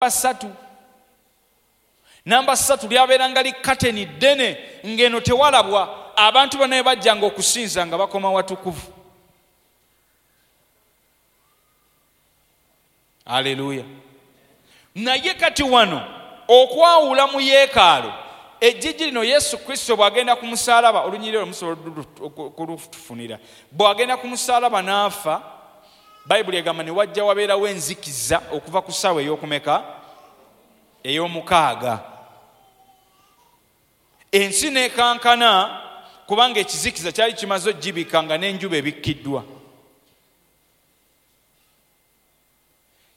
Ssatu, namba 3 lyabeeranga likateni ddene, ng'eno tewalabwa. Abantu bonna bajjanga okusinza nga bakoma watukuvu. Aleluya. Naye kati wano okwawula mu yeekaalu, ejjiji lino Yesu Kristo bw'agenda ku musaalaba, olunyiriri olwo musobola okulutufunira, bw'agenda ku musaalaba n'afa, Bayibuli egamba ne wajja wabeerawo enzikiza okuva ku ssaawa ey'okumeka, ey'omukaaga. Ensi n'ekankana kubanga ekizikiza kyali kimaze okugibikka nga n'enjuba ebikkiddwa.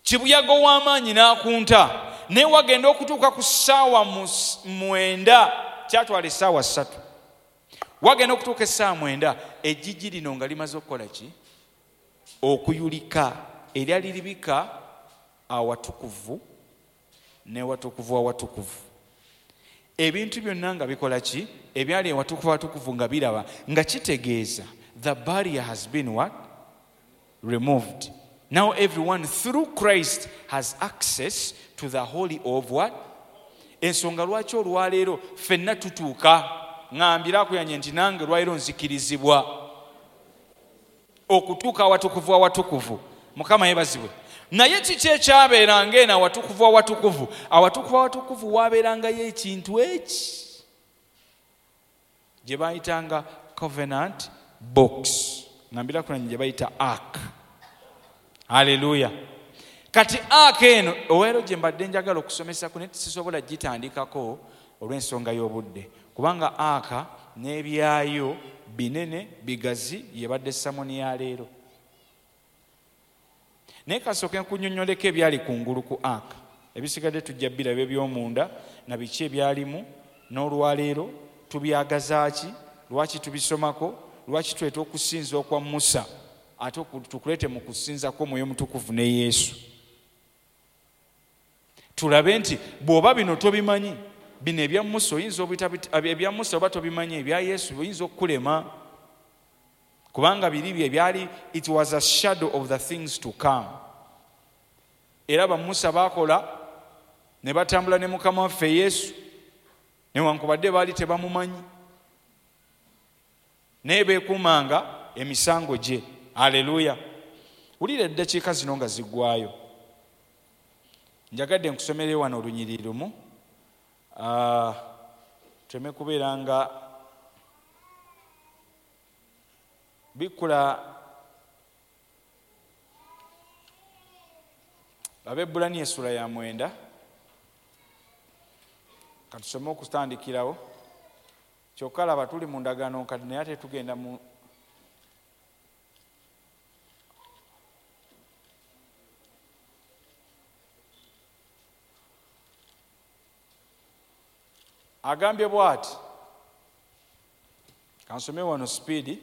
Kibuyaga ow'amaanyi n'akunta, naye wagenda okutuuka ku ssaawa 9, kyatwala essaawa 3. Wagenda okutuuka essaawa 9, ejjiji lino nga limaze okukola ki? Okuyulika, eryali libika awatukuvu n'ewatukuvu awatukuvu. Ebintu byonna nga bikola ki? Ebyali ewatukuvu awatukuvu nga biraba, nga kitegeeza the barrier has been what? Removed. Now everyone through Christ has access to the holy of what? Ensonga lwaki olwaleero ffenna tutuuka, ŋŋambira akuyanye nti nange lwaleero nzikirizibwa okutuuka awatukuvu awatukuvu. Mukama yeebazibwe. Naye kiki ekyabeeranga eno awatukuvu awatukuvu? Awatukuvu awatukuvu waabeerangayo ekintu eki gye bayitanga covenant box, ŋŋambira akuyanye gye bayita ark. Haleluya. Kati ark eno olwaleero gye mbadde njagala okusomesa ku, naye sisobola gitandikako olw'ensonga y'obudde, kubanga ark n'ebyayo binene bigazi, yebadde samoni ya leero. Naye kasooke nkunnyonnyoleko ebyali kungulu ku ark, ebisigadde tujja biraba eby'omunda na biki ebyalimu. N'olwaleero tubyagaza ki? Lwaki tubisomako? Lwaki tuleeta okusinza okwa Musa ate tukuleete mu kusinza kw'Omwoyo Omutukuvu ne Yesu? Tulabe nti bw'oba bino tobimanyi, bino ebya Musa oyinza obita, ebya Musa oba tobimanyi, ebya Yesu oyinza okukulema, kubanga biri bye byali, it was a shadow of the things to come. Era ba Musa baakola ne batambula ne Mukama waffe Yesu, newankubadde baali tebamumanyi, naye beekuumanga emisango gye. Haleluya. Wulira eddakiika zino nga ziggwayo, njagadde nkusomere wano olunyiriri lumu, tuleme kubeera nga bikkula Abaebbulaniya essula ya 9. Katusome okutandikirawo. Kyokka laba tuli mu ndagaano nkadde, naye ate tugenda mu agambye bw'ati, kansome wano speed.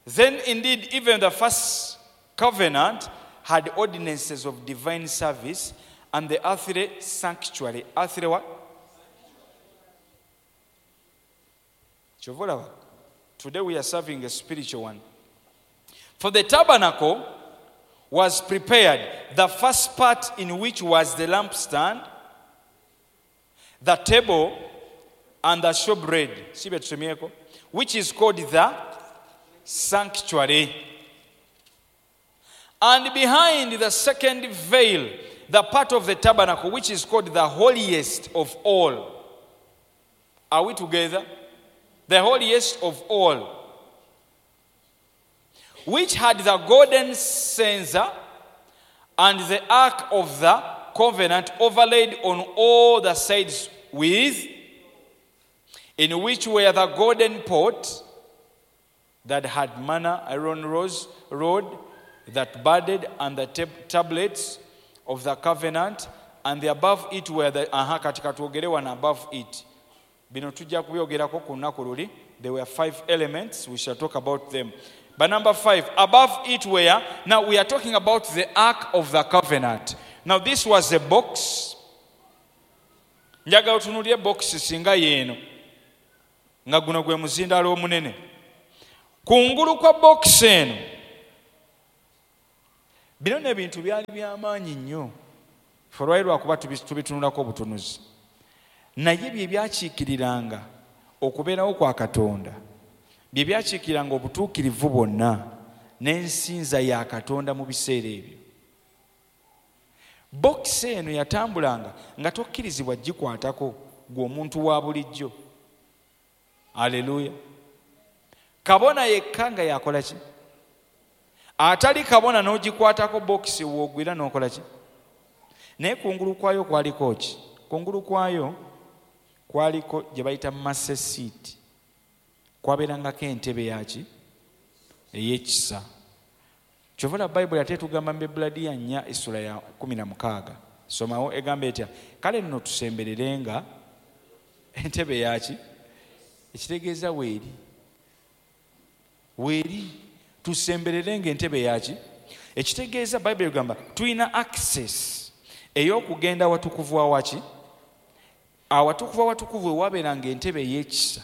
Then indeed even the first covenant had ordinances of divine service and the earthly sanctuary. Earthly what? Kyova olaba, today we are serving a spiritual one. For the tabernacle was prepared, the first part in which was the lampstand, the table, and the showbread, si bye tusomyeko, which is called the sanctuary. And behind the second veil, the part of the tabernacle which is called the holiest of all. Are we together? The holiest of all, which had the golden censer and the ark of the covenant overlaid on all the sides with, in which were the golden pot that had manna, iron rose, rod that budded, and the tablets of the covenant, and the above it were the, aha, kati katwogere wano above it. Bino tujja kubyogerako ku lunaku luli. There were 5 elements, we shall talk about them. But number 5, above it were, now we are talking about the Ark of the Covenant. Now this was a box. Njagala otunuulire box singa yeeno, nga guno gwe muzindaalo omunene. Kungulu kwa box eno Bino n'ebintu byali by'amaanyi nnyo, ffe olwali lwakuba tubitunulako obutunuzi, naye bye byakiikiriranga okubeerawo kwa Katonda, bye byakiikiriranga obutuukirivu bwonna n'ensinza ya Katonda mu biseera ebyo. Bokisi eno yatambulanga nga tokkirizibwa gikwatako gwe omuntu wa bulijjo. Aleluya. Kabona yekka nga yakola ki? Atali kabona n'ogikwatako bokisi w'ogwira n'okola ki? Naye kungulu kwayo kwaliko ki? Kungulu kwayo kwaliko gye bayita mercy seat, kwabeerangako entebe yaki ey'ekisa. Kyova olaba Bayibuli ate etugamba mu Bebbulaniya 4:16, somawo, egamba etya? Kale nno tusembererenga entebe yaki, ekitegeeza weeri, weeri tusembererenga entebe yaki, ekitegeeza Bayibuli egamba tulina access ey'okugenda awatukuvu awaki, awatukuvu awatukuvu ewabeeranga entebe ey'ekisa.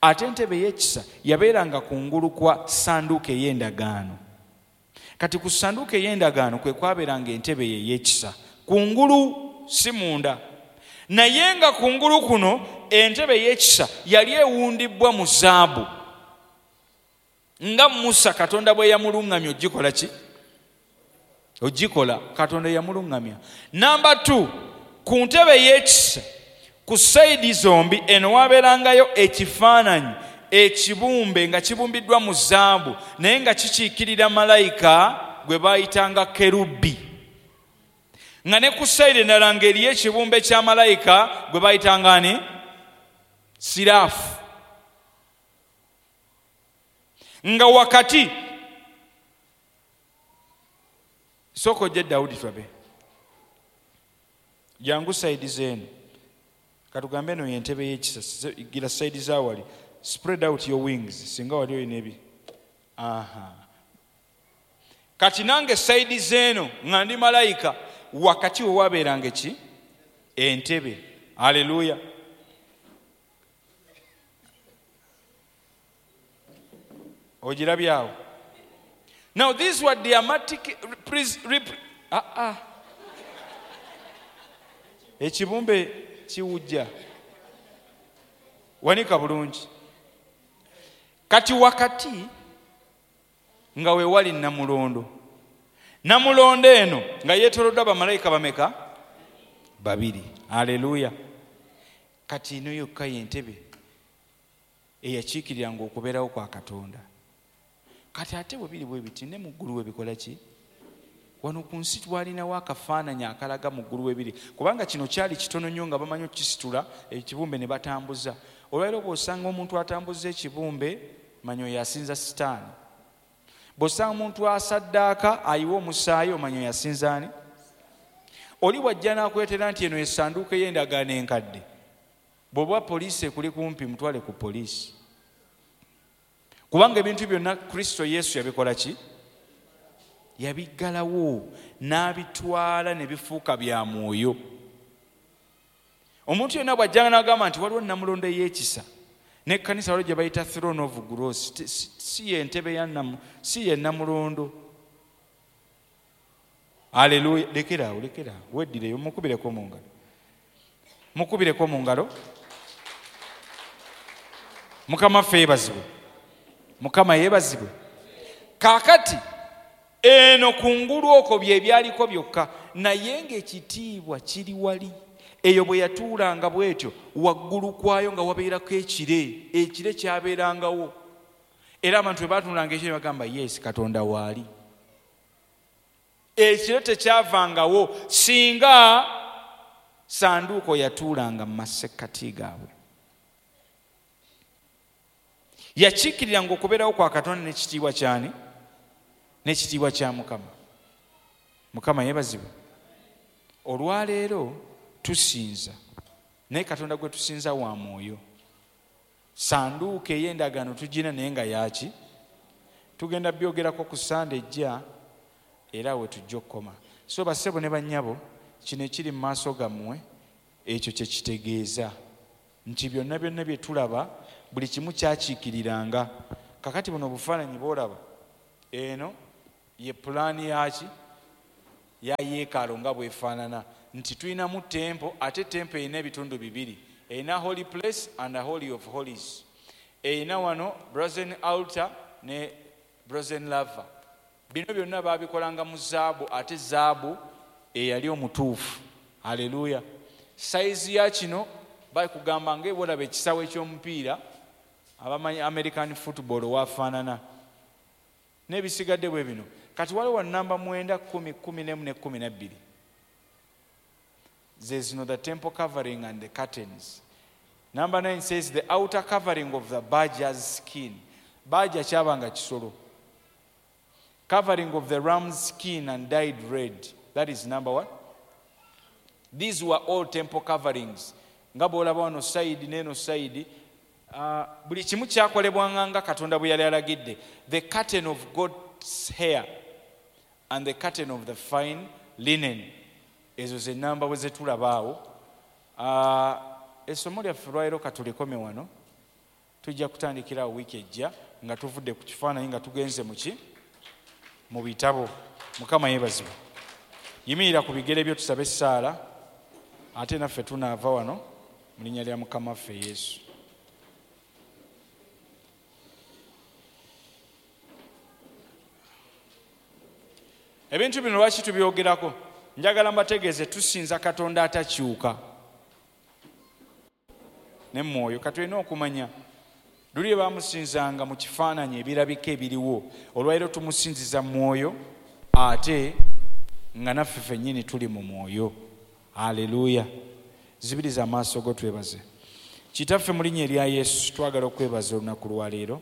Ate entebe ey'ekisa yabeeranga kungulu kwa ssanduuko ey'endagaano. Kati ku ssanduuko ey'endagaano kwe kwabeeranga entebe ey'ekisa kungulu, si munda. Naye nga kungulu kuno entebe ey'ekisa yali ewundibbwa mu zaabu, nga Musa Katonda bwe yamuluŋŋamya ogikola ki? Ogikola, Katonda yamuluŋŋamya. Namba 2, ku ntebe ey'ekisa ku sayidi zombi eno wabeerangayo ekifaananyi ekibumbe nga kibumbiddwa mu zaabu, naye nga kikiikirira malayika gwe baayitanga kerubi, nga ne ku sayidi endala ng'eriyo ekibumbe kya malayika gwe bayitanga ani? Siraafu. Nga wakati sooka ojje Dawudi tulabe, jangu sayidi zeeno, katugambe eno y'entebe y'ekisa, gira sayidi za wali, spread out your wings, singa wali olina ebi. Aha. Kati nange sayidi zeeno nga ndi malayika, wakati we wabeeranga ki? Entebe. Aleluya. Ogirabyawo. Now these were dramatic ekibumbe kiwujja, wanika bulungi. Kati wakati nga we wali namulondo, namulondo eno nga yeetoloddwa bamalayika bameka? Babiri. Aleluya. Kati eno yokka y'entebe eyakiikiriranga okubeerawo kwa Katonda. Kati ate bwe biri bwe biti ne mu ggulu we bikola ki? Wano ku nsi twalinawo akafaananyi akalaga mu ggulu we biri, kubanga kino kyali kitono nnyo nga bamanyi okukisitula ekibumbe ne batambuza. Olwaleero bw'osanga omuntu atambuza ekibumbe, manya oyo asinza Sitaani. Bw'osanga omuntu asaddaaka ayiwa omusaayi, omanya oyo asinza ani? Oli bw'ajja n'akuleetera nti eno essanduuko ey'endagaano enkadde, bw'oba poliisi ekuli kumpi mutwale ku poliisi, kubanga ebintu byonna Kristo Yesu yabikola ki? Yabiggalawo n'abitwala ne bifuuka bya mwoyo. Omuntu yenna bw'ajjanga n'agamba nti waliwo namulondo ey'ekisa, n'ekkanisa waliwo gye bayita throne of grace, si ye ntebe ya si ye namulondo. Aleluya. Lekeraawo, lekeraawo, weddireyo, mukubireko mu ngalo, mukubireko mu ngalo. Mukama ffe yeebazibwe, Mukama yeebazibwe. Kaakati eno kungulu okwo bye byaliko byokka, naye ng'ekitiibwa kiri wali. Eyo bwe yatuulanga bw'etyo, waggulu kwayo nga wabeerako ekire, ekire kyabeerangawo. Era abantu bwe baatunulanga ekire bagamba yes, Katonda waali. Ekire tekyavangawo singa sanduuko yatuulanga mu masekkati gaabwe. Yakiikiriranga okubeerawo kwa Katonda n'ekitiibwa kyani? N'ekitiibwa kya Mukama. Mukama yeebazibwe. Olwaleero tusinza, naye Katonda gwe tusinza wa mwoyo. Sanduuko ey'endagaano tugina naye nga yaaki? Tugenda byogerako ku Sande ejja, era we tujja okukoma. So bassebo ne bannyabo, kino ekiri mu maaso gammwe ekyo kye kitegeeza nti byonna byonna bye tulaba buli kimu kyakiikiriranga. Kakati buno obufaananyi bw'olaba, eno ye pulaani yaki? Ya yeekaalo nga bwefaanana nti tulinamu temple, ate temple erina ebitundu bibiri, erina holy place and a holy of holies, erina wano brazen altar ne brazen laver. Bino byonna baabikolanga mu zaabu, ate zaabu eyali omutuufu. Haleluya. Sayizi ya kino bakugamba nga olaba ekisaawe eky'omupiira, abamanyi American football wafaanana, n'ebisigadde bwe bino. Kati waliwo namba 9, 10, 11 ne 12, ze zino, the temple covering and the curtains. Number 9 says the outer covering of the badger's skin. Badger kyabanga kisolo. Covering of the ram's skin and dyed red. That is number 1. These were all temple coverings. Nga bw'olaba wano side n'eno side, buli kimu kyakolebwanga nga Katonda bwe yali alagidde. The curtain of God's hair and the curtain of the fine linen. Ezo ze namba bwe zetulaba awo. Essomo lyaffe lwaleero katulikome wano. Tujja kutandikira awo wiiki ejja nga tuvudde ku kifaananyi nga tugenze muki mu bitabo. Mukama yeebazibwe. Yimirira ku bigere byo tusabe essaala, ate naffe tunaava wano mu linnya lya Mukama waffe Yesu. Ebintu bino lwaki tubyogerako? Njagala mbategeeze tusinza Katonda atakyuka ne mwoyo. Katulina okumanya luli bamusinzanga mu kifaananyi ebirabika ebiriwo, olwaleero tumusinziza mwoyo ate nga naffe ffennyini tuli mu mwoyo. Haleluya. Zibiriza amaaso go twebaze. Kitaffe mu linnya erya Yesu twagala okwebaza olunaku lwaleero.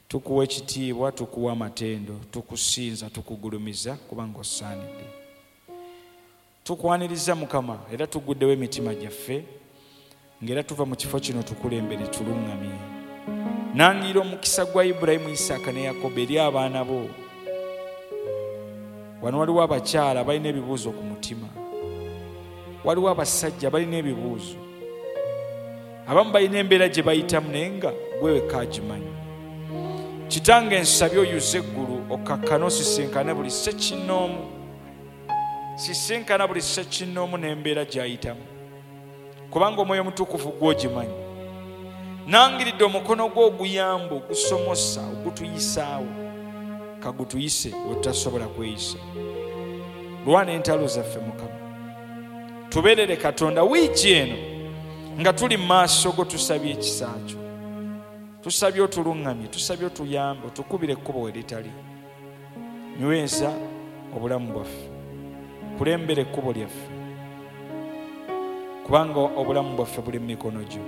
Tukuwa ekitiibwa, tukuwa amatendo, tukusinza, tukugulumiza kubanga osaanidde. Tukwaniriza Mukama era tuguddewo emitima gyaffe ng'era tuva mu kifo kino tukulembere tuluŋŋamye. Nangira omukisa gwa Ibulayimu, Isaaka ne Yakobo eri abaana bo. Wano waliwo abakyala balina ebibuuzo ku mutima, waliwo abasajja balina ebibuuzo, abamu balina embeera gye bayitamu naye nga gwe wekka agimanyi. Kitange nsabye oyuze eggulu okkakkane osisinkane buli ssekinnoomu, sisinkana buli ssekinnoomu n'embeera gy'ayitamu, kubanga Omwoyo Omutukuvu gw'ogimanyi. Nangiridde omukono gwo oguyamba, ogusomosa, ogutuyisaawo, kagutuyise wetutasobola kweyisa. Lwana entalo zaffe Mukama, tubeerere Katonda wiiki eno nga tuli mu maaso go. Tusabye ekisa kyo, tusabye otuluŋŋamye, tusabye otuyambe, otukubire ekkubo we litali. Nyweza obulamu bwaffe, kulembera ekkubo lyaffe, kubanga obulamu bwaffe buli mu mikono gyo.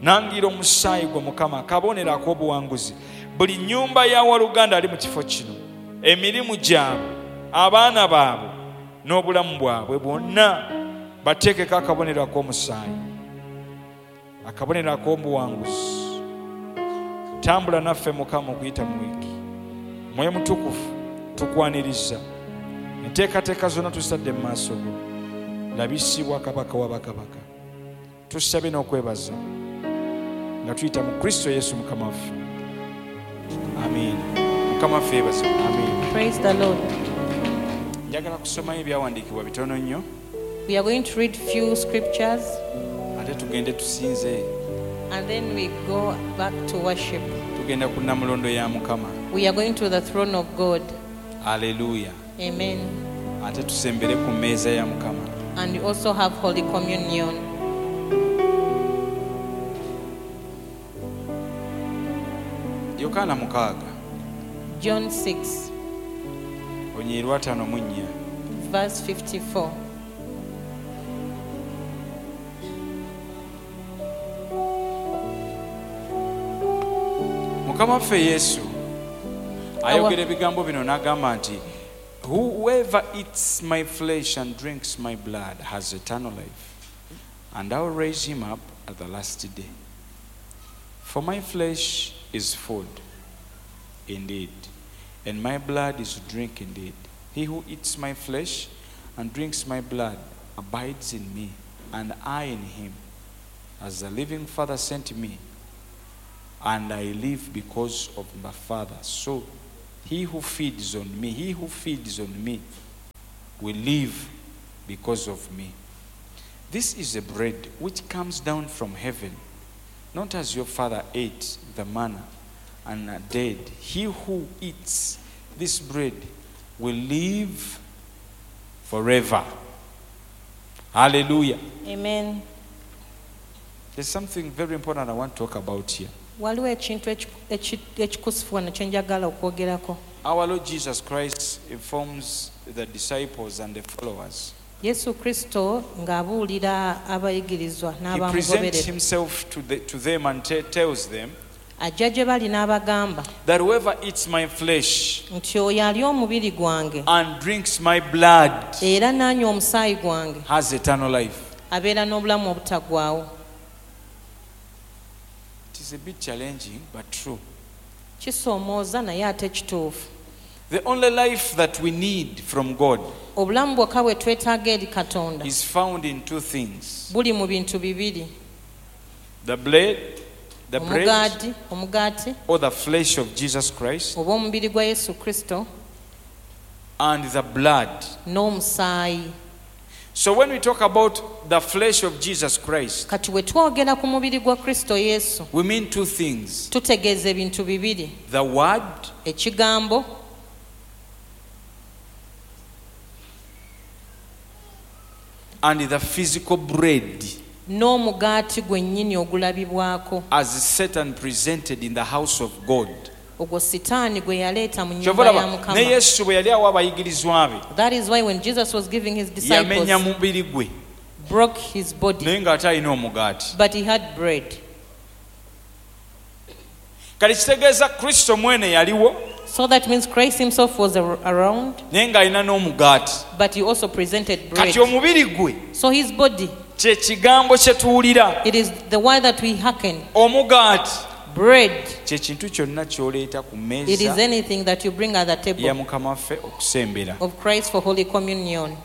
Nangira omusaayi gwo Mukama, akabonero ak'obuwanguzi. Buli nnyumba ya waluganda ali mu kifo kino, emirimu gyabwe, abaana baabwe n'obulamu bwabwe bwonna bateekeko akabonero ak'omusaayi, akabonero ak'obuwanguzi. Tambula naffe Mukama okuyita mu wiiki. Mwoyo Mutukuvu tukwaniriza, enteekateeka zonna tusadde mu maaso go. Labisibwa Kabaka wa bakabaka. Tusabe n'okwebaza nga tuyita mu Kristo Yesu Mukama waffe. Amiina. Mukama waffe yeebazibwe. Amiina. Praise the Lord. Njagala kusomayo ebyawandiikibwa bitono nnyo, We are going to read few scriptures ate tugende tusinze. and then we go back to worship. Tugenda ku nnamulondo ya Mukama. We are going to the throne of God. Aleluya. Amen. Ate tusembere ku mmeeza ya Mukama. And we also have Holy Communion. Yokaana 6, John 6, olunyiriri lwa 54. verse 54. Mukama waffe Yesu ayogera ebigambo bino n'agamba nti whoever eats my flesh and drinks my blood has eternal life, and I will raise him up at the last day. For my flesh is food indeed, and my blood is drink indeed. He who eats my flesh and drinks my blood abides in me, and I in him. As the living Father sent me, and I live because of my Father, so he who feeds on me, he who feeds on me will live because of me. This is the bread which comes down from heaven, not as your father ate the manna and are dead. He who eats this bread will live forever. Hallelujah. Amen. There's something very important I want to talk about here. Waliwo ekintu ekikusifu wano kye njagala okwogerako. Our Lord Jesus Christ informs the disciples and the followers. Yesu Kristo ng'abuulira abayigirizwa He presents n'abamugoberera himself to them and tells them ajja gye bali n'abagamba that whoever eats my flesh nti oyo alya omubiri gwange and drinks my blood era n'anywa omusaayi gwange has eternal life. Abeera n'obulamu obutaggwaawo. It is a bit challenging, but true. Kisoomooza naye ate kituufu. The only life that we need from God Obulamu bwokka bwe twetaaga eri Katonda is found in two things: buli mu bintu bibiri: the bread omugaati or the flesh of Jesus Christ, oba omubiri gwa Yesu Kristo and the blood. N'omusaayi. So when we talk about the flesh of Jesus Christ, Kati bwe twogera ku mubiri gwa Kristo Yesu we mean two things: tutegeeza ebintu bibiri: the word ekigambo and the physical bread n'omugaati gwennyini ogulabibwako as Satan presented in the house of God. Ogwo Sitaani gwe yaleeta mu Kyova nnyumba ya olaba ne Mukama. Yesu bwe yali awa abayigirizwa be That is why when Jesus was giving his yamenya disciples, mubiri gwe broke his body, naye ng'ate alina omugaati. But he had bread. Kati kitegeeza Kristo mwene yaliwo So that means Christ himself was around, naye ng'alina n'omugaati. But he also presented bread. Kati omubiri gwe So his body, kye kigambo kye tuwulira. It is the word that we hearken. Omugaati Bread, kye kintu kyonna ky'oleeta ku it is mmeeza anything that you bring at the ya table Mukama waffe okusembera. of Christ for Holy Communion.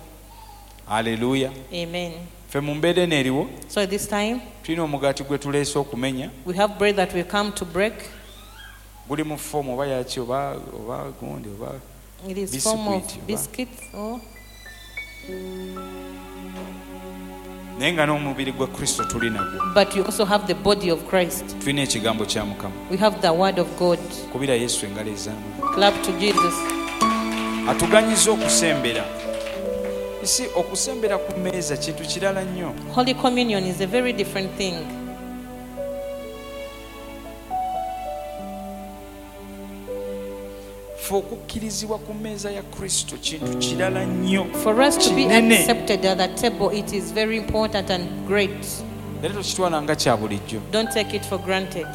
Aleluya. Amen. Ffe mu mbeera eno eriwo So at this time, tulina omugaati gwe tuleese okumenya. We have bread that we come to break. Guli mu foomu oba yaki oba gundi oba It is form of biscuit, oba. Biscuits or Naye nga n'omubiri gwa Kristo tuli nagwo. But you also have the body of Christ. Tulina ekigambo kya Mukama. We have the word of God. Kubira Yesu engalo ez'amaanyi. Clap to Jesus. Atuganyiza okusembera isi okusembera ku mmeeza kintu kirala nnyo. Holy Communion is a very different thing. Ffe okukkirizibwa ku mmeeza ya Kristo kintu kirala nnyo For us to be kinene. Accepted at the table, it is very important and great. Era tokitwala nga kya bulijjo. Don't take it for granted.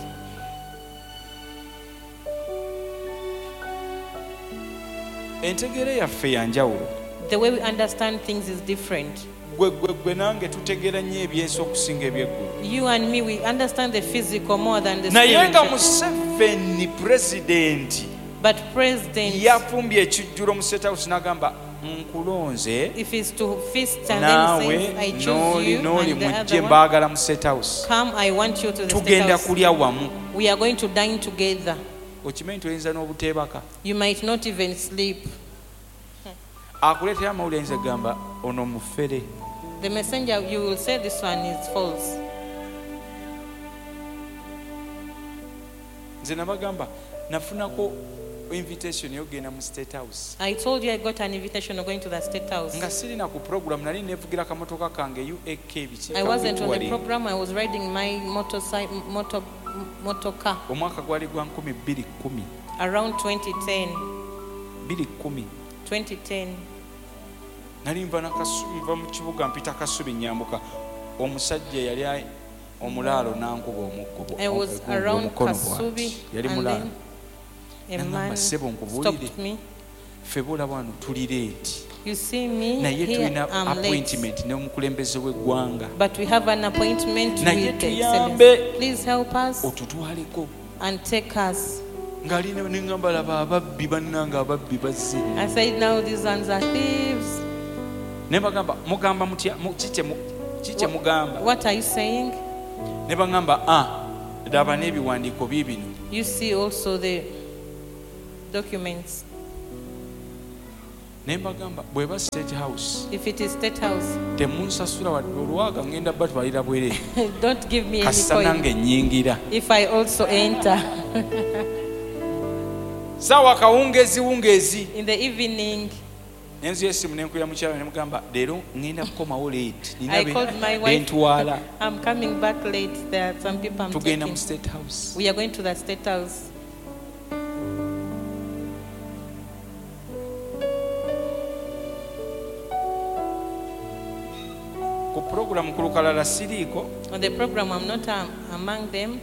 Entegeera yaffe ya njawulo. The way we understand things is different. Gwe gwe gwe nange tutegeera nnyo ebyensi okusinga ebyeggulu. You and me, we understand the physical more than the Naye nga spiritual. Museveni pulezidenti But President, yafumbye ekijjulo mu State House n'agamba nkulonze if it's to feast and then naawe he says, "I choose n'oli you," n'oli and the mujje other one, mbaagala mu State House "Come, I want you to the State tugenda House. kulya wamu. We are going to dine together." Okimanyi nti oyinza n'obuteebaka. You might not even sleep. Akuleetera amawulire ayinza kugamba ono mufere. The messenger, you will say this one is false. Nze nabagamba nafunako invitation ey'okugenda mu State House I told you I got an invitation of going to the State House. Nga sirina ku program nali neevugira akamotoka kange uak biki I wasn't on the Touring. Program. I was riding my motorcycle, motor car Omwaka gwali gwa 2010. Around 2010. 2010. 2010. Nali nva nva mu kibuga mpita Kasubi nyambuka omusajja yali omulaalo n'ankuba omuggo I was around omukono Kasubi, bw'ati yali and mulaalo. then a Nangamba, man "Ssebo, nkubuulire. stopped me. Ffe boolaba wano tuli late You see me naye here, tulina I'm late. appointment n'omukulembeze w'eggwanga. But we have an appointment Naye with the tuyambe. Excellency. Please help us Otutwaleko." and take us. Ng'alina neŋŋamba laba ababbi bannange ababbi bazze. I said, "Now these ones are thieves." Ne bagamba mugamba mutya ki kye mugamba? What are you saying? Ne baŋŋamba a laba n'ebiwandiiko biibino. You see also the documents. Ne mbagamba bweba State House, If it is State House, temunsasula wadde olwaga, ngenda batwalira bwereere. Don't give me any Kasita coin. nange nnyingira. If I also enter Saawa kawungeezi wungeezi, in the evening, nenzuya essimu nenkubira mukyala ne mugamba leero ngenda kukomawo late, nina I called my wife. bentwala. I'm coming back late. There are some people I'm Tugenda mu taking. State House. We are going to the State House. Ku puroguramu ku lukalala siriiko. On the program, I'm not among them.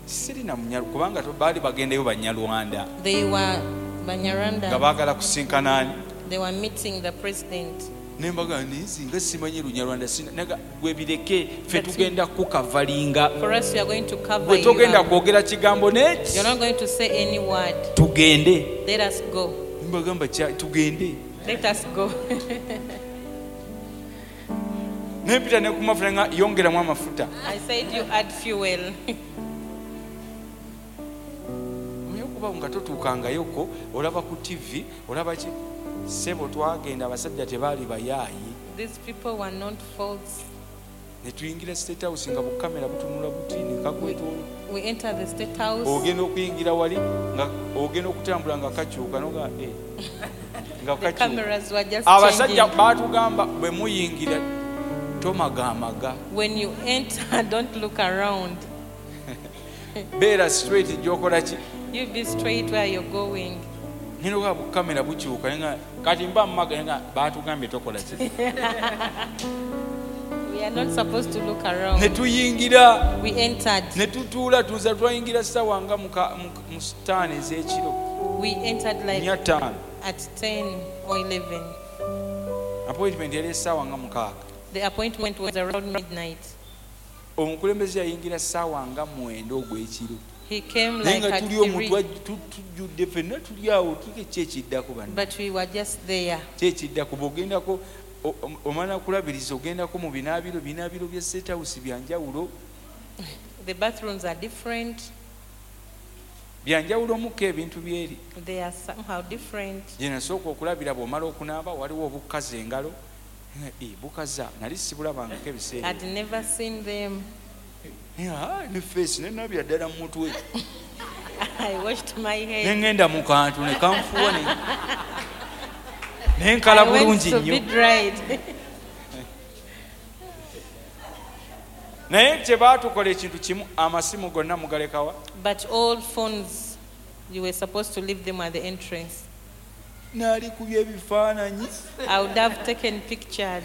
Sirina munyalu kubanga baali bagendayo banyalwanda They were nga Banyarwanda. baagala kusinkana ani. They were meeting the president. Nembaga nzi nga simanyi lunyarwanda naga gwe bireke ffe But tugenda kukavalinga. For us, we are going to cover Gwe you togenda up. kwogera kigambo neki. You're not going to say any word. Tugende. Let us go. Mbagamba tugende. Let us go. Nempita ne ku mafuta nga yongeramu amafuta. I said you add fuel. Omanyi okuba nga totuukangayoko olaba ku TV olaba ki ssebo twagenda abasajja tebaali bayaayi. These people were not false. Ne tuyingira State House nga bukamera butunula buti ne kakwetoolo. We entered the State House. Ogenda okuyingira wali nga ogenda okutambula nga kakyuka noga eh, nga The kakyuka. cameras were just Abasajja changing. baatugamba bwe muyingira tomagamaga. When you enter, don't look around. Beera straight gyokola ki. You be straight where you're going. Ngenda okulaba bukamera bukyuka naye nga kati mba mumaga naye nga baatugambye tokola ki. We are not supposed to look Ne around. tuyingira. We entered. Ne tutuula tuza twayingira ssaawa nga mu ttaano ez'ekiro. We entered like Nnya ttaano. at 10 or 11. Appointment yali essaawa nga 6. The appointment was around midnight. Omukulembeze yayingira ssaawa nga 9 ogw'ekiro. He came Naye like nga at tuli omwo 3, tujjudde ffenna tuli awo tuke ki ekiddako banna. But we were just there. Ki ekiddako bw'ogendako omala kulabiriza ogendako mu binaabiro binaabiro bya State House byanjawulo. The bathrooms are different. Byanjawulomuko ebintu byeri. They are somehow different. Gye nasooka okulabira bw'omala okunaaba waliwo obukkaza engalo. Eh, bukaza nali sibulabangako ebiseera. I'd never seen them. Eh, ah, ne feesi ne nabira ddala mu mutwe. I washed my Ne head. ŋŋenda mu kantu ne kanfuuwa ne nkala I went bulungi to be nnyo. dried. Naye kye baatukola ekintu kimu amasimu gonna mugalekawa. But all phones, you were supposed to leave them at the entrance. Naalikubya ebifaananyi. I would have taken pictures.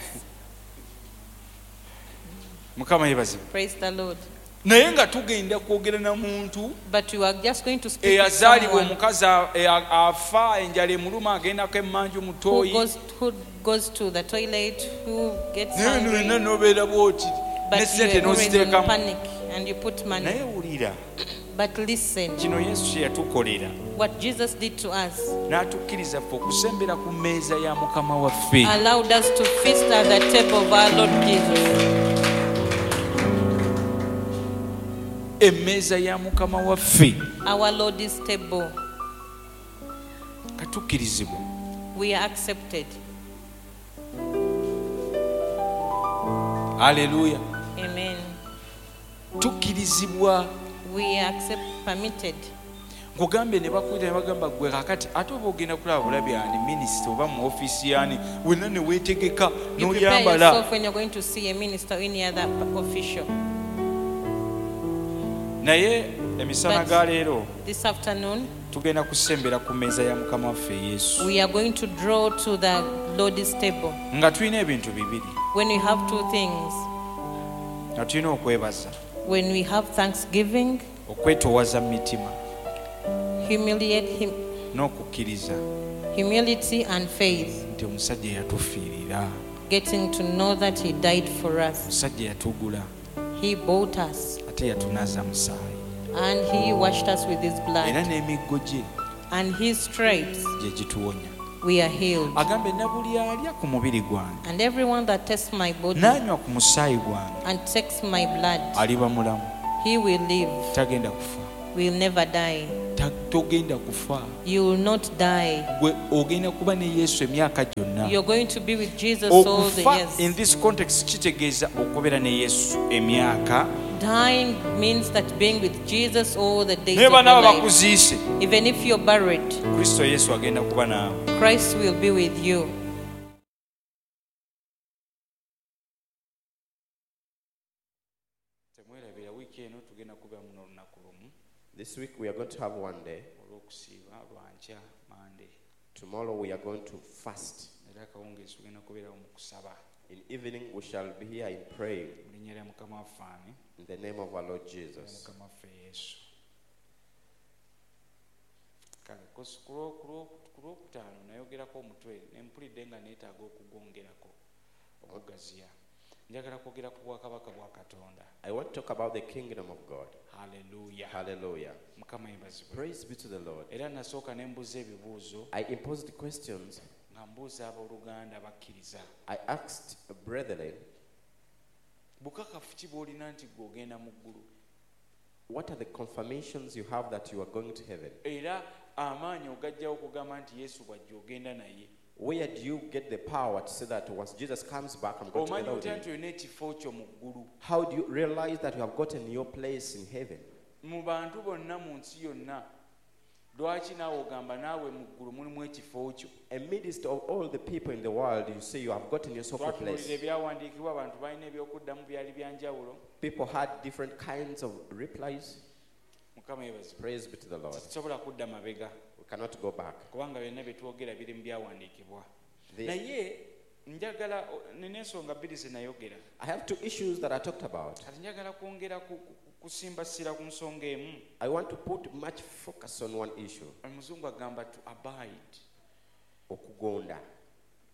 Mukama yeebazibwe. Praise the Lord. Naye nga tugenda kwogera na muntu But we were just going to speak with eyazaalibwa someone omukazi afa enjala emuluma agendako emmanju mu who ttooyi. goes to the toilet, who gets Naye hungry. nonna n'obeera bw'oti ne But you sente are always in n'oziteekamu. panic and you put money. Naye wulira But listen, kino Yesu kye yatukolera what Jesus did to us n'atukkiriza ffe okusembera ku mmeeza ya Mukama waffe. Allowed us to feast at the table of our Lord Jesus. Emmeeza ya Mukama waffe. Our Lord's table. Katukkirizibwa. We are accepted. Aleluya. Amen. Tukkirizibwa. We are permitted. Nkugambye ne bakuyita ne bagamba gwe kakati ate oba ogenda kulaba bulabi ani minisita oba mu ofiisi yani wenna ne weetegeka You prepare n'oyambala. yourself when you're going to see a minister or any other official. Naye emisana ga leero This afternoon, tugenda kusembera ku mmeeza ya Mukama waffe Yesu we are going to draw to the Lord's table. nga tulina ebintu bibiri. When we have two things, Nga tulina okwebaza, when we have thanksgiving, okwetoowaza mu mitima humiliate him, n'okukkiriza humility and faith, nti omusajja yatufiirira, getting to know that He died for us, omusajja yatugula, He bought us, ate yatunaaza musaayi, and He washed us with His era blood, n'emiggo gye and His stripes gye gituwonya. We are healed. Agambe na buli alya ku mubiri gwange And everyone that tastes my body n'anywa ku musaayi gwange and takes my blood, aliba mulamu, he will live, tagenda kufa, will never die, Togenda kufa. You will not die. Gwe ogenda kuba ne Yesu emyaka gyonna. You're going to be with Jesus all the Okufa in years. this context kitegeeza okubeera ne Yesu emyaka. Dying means that being with Jesus all the days Naye of your banaaba life. bakuziise, Even if you're buried, Kristo Yesu agenda kuba naawe. Christ will be with you. Temwerabira wiiki eno tugenda kubeera muno olunaku lumu This week we are going to have one day. olw'okusiiba lwankya Mande. Tomorrow we are going to fast. Era akawungeezi tugenda kubeerawo mu kusaba In evening we shall be here in praying mu linnya lya Mukama waffe ani in the name of our Lord Jesus. Mukama waffe Yesu. Kale ku lwokutaano nayogerako omutwe ne mpulidde nga neetaaga okugwongerako okugaziya. Njagala kwogera ku bwakabaka bwa Katonda. I want to talk about the kingdom of God. Haleluya. Hallelujah. Mukama yeebazibwe. Praise be to the Lord. Era nasooka ne mbuuza ebibuuzo I imposed questions. nga mbuuza abooluganda abakkiriza. I asked brethren, Bukakafu ki bw'olina nti ggwe ogenda mu ggulu? what are the confirmations you have that you are going to heaven? Era amaanyi ogajjawo okugamba nti Yesu bw'ajja ogenda naye. Where do you get the power to say that once Jesus comes back, I'm going to Omanyi together with otya him? nti olina ekifo kyo mu ggulu? How do you realize that you have gotten your place in heaven? Mu bantu bonna mu nsi yonna, lwaki naawe ogamba naawe mu ggulu mulimu ekifo kyo? Amidst of all the people in the world, you say you have gotten yourself a Twatunuulira place. ebyawandiikibwa, abantu balina ebyokuddamu byali bya njawulo. People had different kinds of replies. Mukama yeebazibwe. Praise be to the Lord. Tetusobola kudda mabega We cannot go back. kubanga byonna bye twogera biri mu byawandiikibwa. Naye njagala nina ensonga bbiri ze nayogera. I have two issues that I talked about. Kati njagala kwongera kusimba ssira ku nsonga emu. I want to put much focus on one issue. Omuzungu agamba to abide. Okugonda,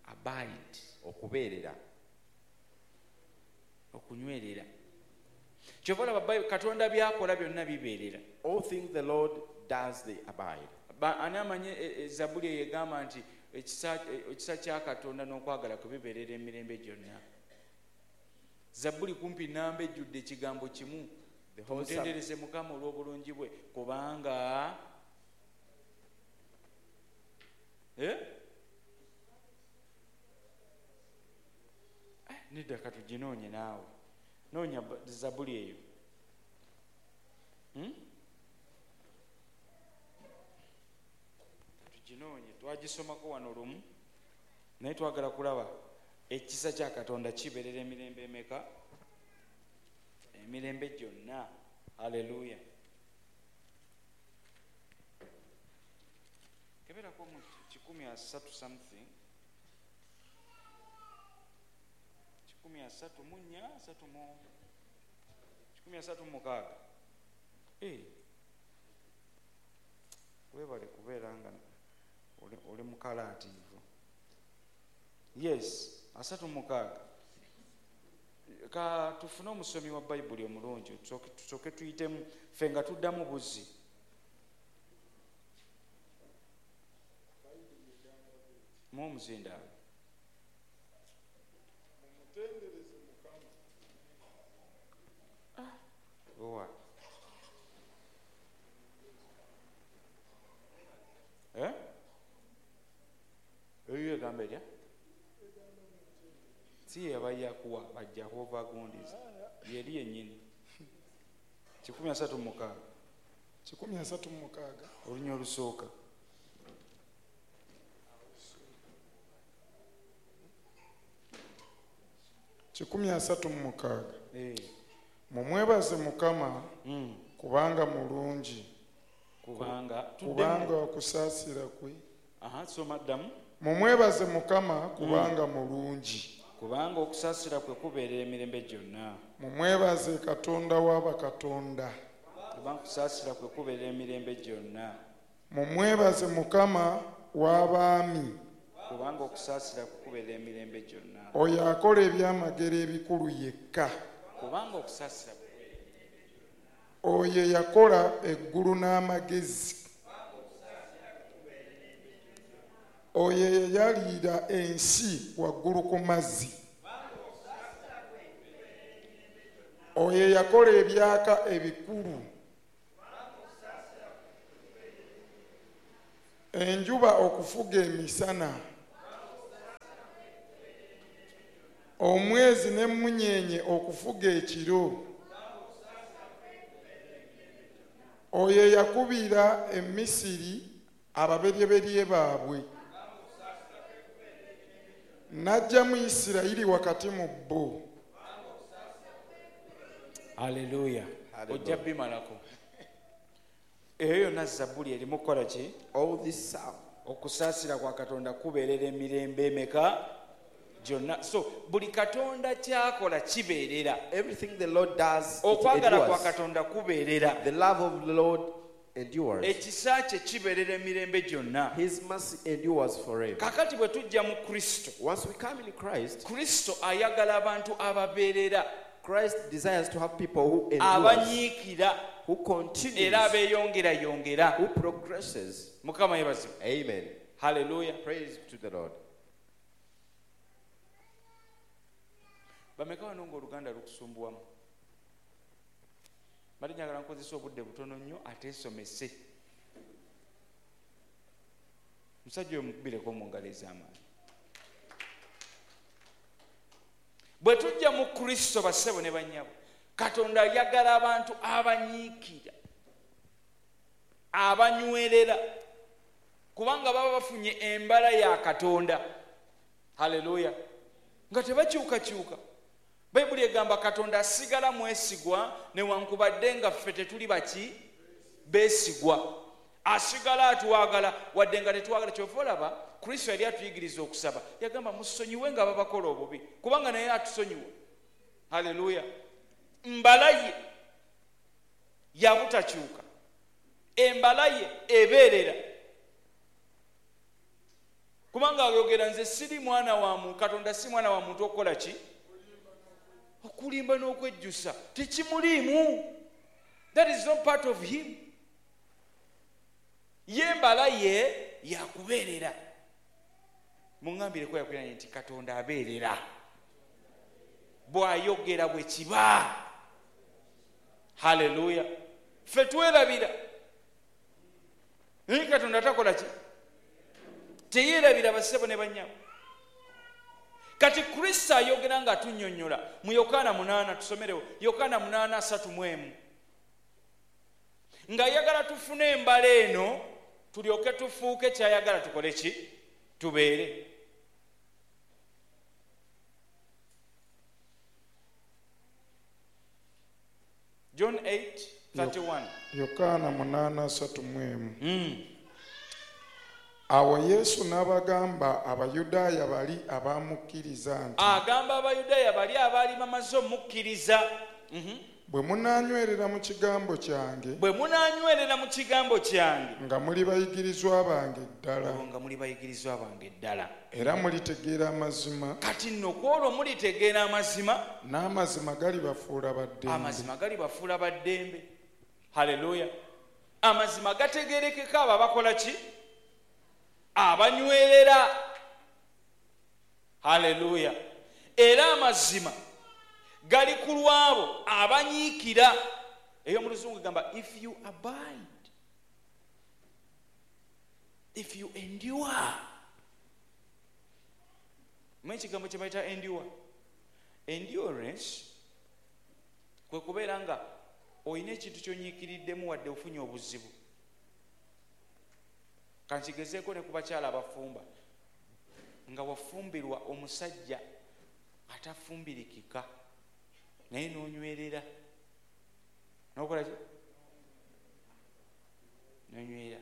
Abide. okubeerera. Okunywerera. Kyova olaba Katonda by'akola byonna bibeerera. All things the Lord does, they abide. Ani amanyi Zabbuli eyo egamba nti ekisa kya Katonda n'okwagala kwe bibeerera emirembe gyonna. Zabbuli kumpi namba ejjudde ekigambo kimu. The whole Psalm, Mutendereze Mukama olw'obulungi bwe kubanga Nedda katuginoonye naawe. Noonya Zabbuli eyo. Tuginoonye, twagisomako wano lumu naye twagala kulaba ekisa kya Katonda kibeerera emirembe emeka? Emirembe gyonna. Haleluya. Keberako mu 130 something. 134, 136. Weebale kubeera nga oli mukalaatiivu. Yes, 36. Ka tufune omusomi wa Bayibuli omulungi tusooke tuyitemu ffe nga tuddamu buzzi. Mu omuzindaalo. Mumutendereze Mukama. Owa. Eyo egamba etya? Si ye yabayakuwa bajja gundiza. Yeri yennyini. 136. 136. Olunya olusooka. 136. Mumwebaze Mukama kubanga mulungi. Kubanga okusaasira kwe. Soma ddamu. Mumwebaze Mukama kubanga mulungi. Kubanga okusaasira kwe kubeerera emirembe gyonna. Mumwebaze Katonda w'abakatonda. Kubanga okusaasira kwe kubeerera emirembe gyonna. Mumwebaze Mukama w'abaami. Kubanga okusaasira kwe kubeerera emirembe gyonna. Oyo akola ebyamagero ebikulu yekka. Kubanga okusaasira kwe. Oyo yakola eggulu n'amagezi. Oyo yayalira ensi waggulu ku mazzi. Oyo yakola ebyaka ebikulu. Enjuba okufuga emisana, omwezi n'emmunyeenye okufuga ekiro, oyo eyakubira e Misiri ababeryeberye baabwe, n'aggyamu Isirayiri wakati mu bo. Aleluya. Ojja bimalako. Eyo yonna zabbuli erimu kukola ki? All this psalm. Okusaasira kwa Katonda kubeerera emirembe emeka gyonna. So buli Katonda ky'akola kibeerera. Everything the Lord does, it Okwagala kwa endures. Katonda kubeerera. The love of the Lord endures. Ekisa kye kibeerera emirembe gyonna. His mercy endures forever. Kakati bwe tujja mu Kristo, Once we come in Christ, Kristo ayagala abantu ababeerera, Christ desires to have people who endures, abanyiikira, who continues, era abeeyongerayongera. who progresses. Mukama yeebazibwe. Amen. Haleluya. Praise to the Lord. Bameka wano ng'Oluganda lukusumbuwamu? Mbadde njagala nkozesa obudde butono nnyo ate nsomese. Musajja oyo mukubireko mu ngalo ez'amaanyi. Bwe tujja mu Kristo, bassebo ne bannyabo, Katonda ayagala abantu abanyiikira, abanywerera, kubanga baba bafunye embala ya Katonda. Haleluya. Nga tebakyukakyuka. Bayibuli egamba Katonda asigala mwesigwa newankubadde nga ffe tetuli baki beesigwa. Asigala atwagala wadde nga tetwagala. Kyova olaba Kristo yali atuyigiriza okusaba, yagamba musonyiwe nga babakola obubi, kubanga naye atusonyiwa. Haleluya. Mbala ye yabutakyuka, embala ye ebeerera, kubanga ayogera nze siri mwana wa muntu, Katonda si mwana wa muntu okukola ki? Okulimba n'okwejjusa tekimuliimu. That is not part of him. Ye embala ye yakubeerera. Muŋŋambireko yakuliranye nti Katonda abeerera, bw'ayogera bwe kiba. Haleluya. Ffe twerabira, naye Katonda takola ki? Teyeerabira, bassebo ne bannyabo. Kati Kristo ayogera nga atunnyonnyola mu Yokaana 8, tusomerewo Yokaana 8:31, ng'ayagala tufune embala eno tulyoke tufuuke ky'ayagala tukole ki? Tubeere. John 8:31. Yokaana 8:31. Awo Yesu n'abagamba Abayudaaya bali abamukkiriza nti, agamba Abayudaaya bali abaali bamaze omukkiriza, bwe munaanywerera mu kigambo kyange, bwe munaanywerera mu kigambo kyange, nga muli bayigirizwa bange ddala, nga muli bayigirizwa bange ddala, era mulitegeera amazima. Kati nno ku olwo mulitegeera amazima, n'amazima galibafuula baddembe. Amazima galibafuula baddembe. Haleluya. Amazima gategeerekeka abo abakola ki? Abanywerera. Haleluya. Era amazima gali ku lwabo abanyiikira. Eyo mu Luzungu egamba if you abide, if you endure. Mmanyi ekigambo kye bayita endure. Endurance kwe kubeera nga olina ekintu ky'onyiikiriddemu wadde ofunye obuzibu. Kankigezeeko ne ku bakyala abafumba, nga wafumbirwa omusajja atafumbirikika naye n'onywerera, n'okola ki? N'onywerera